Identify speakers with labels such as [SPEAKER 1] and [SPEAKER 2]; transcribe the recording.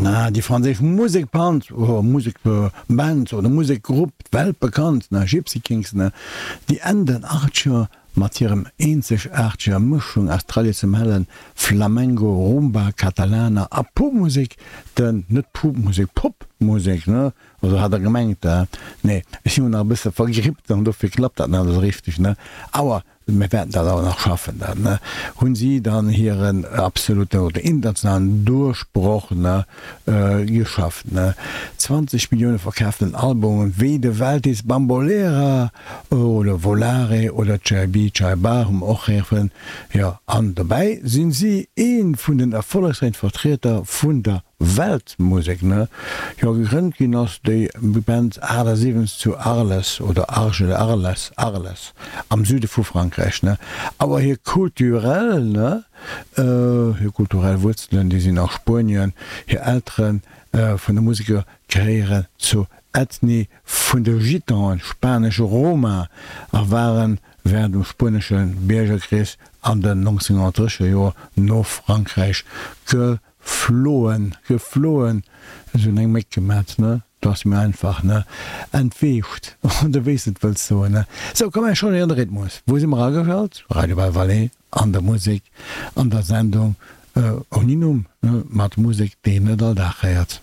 [SPEAKER 1] Na, déi franséisch Musekband, oder Musekband oder Musekgrupp, weltbekannt, ne, Gipsy Kings, ne, déi Enn den Achtzeger mat hirem eenzegaarteger Mëschung aus traditionellen Flamengo, Rumba, Katalaner a Popmusek, den, net Popmusek, Popmusek, ne, also hat der gemengt, nee, ech sinn jo nach e bësse vergrippt an dofir klappt dat net esou richteg, ne, awer Mir wäerten dat awer nach schaffen. Dann hunn si dann hiren absoluten oder internationalen Duerchbroch geschafft. 20 Millioune verkaaften Albumen, wéi de Welthits Bambolera oder Volare oder Chaibi Chaiba hu mer och héieren. Jo, an dobäi sinn si ee vun den erfollegsräichsten Vertrieder vun der Weltmusek, ne? Jo, gegrënnt ginn ass déi Band 78 zu Arles oder Arges, Arles, Arles am Süde vu Frankräich, ne? Awer hir kulturell, ne, hir kulturell Wuerzelen, déi sinn a Spuenien. Hir Eltere vun de Museker gehéieren zur Ethnie vun de Gitanen, spanesche Roma, a waren während dem spuenesche Biergerkrich an den 1930er Joer no Frankräich ge Floen, gefloen, ech hunn eng Méck gemat, ne, do ass mir einfach, ne, entweecht, oder wéi s de et wëlls soen, ne. Sou, komm, ech changeéieren de Rhythmus. Wou si mer ageschalt? Radio Belle Vallée, an der Musek, an der Sendung ouni Numm, ne, mat Musek, déi een net all Dag héiert.